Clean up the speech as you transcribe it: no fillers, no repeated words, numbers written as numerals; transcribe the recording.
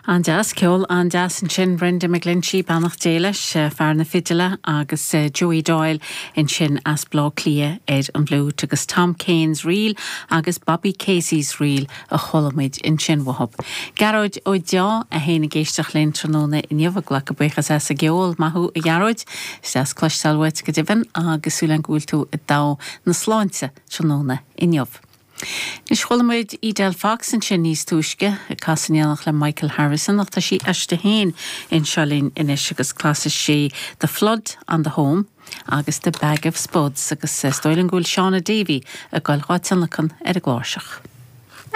An-deas, ceol an-deas ansin, Brendan McGlinchey, beannacht Dé leis, fear na fidile, agus Joey Doyle ansin as Baile Átha Cliath ar an bhfliúit, agus Tom Kane's Reel agus Bobby Casey's Reel a chuala muid ansin uathub. Gearóid Ó Deá é féin ag éisteacht linn tráthnóna inniu, ag glacadh buíochas as an gceol. Maith thú a Ghearóid, is deas cloisteáil uait go deimhin agus súil agam go bhfuil tú i dtogha na sláinte tráthnóna inniu. Anois, chuala muid Edel Fox ansin níos túisce, ag casadh in éineacht le Michael Harrison, ach tá sí aisti féin anseo linn anois agus casfaidh sí The Flood on the Home agus The Bag of Spuds agus is dóigh liom go bhfuil Shauna Davey ag goil dhá tionlacan ar an gcláirseach.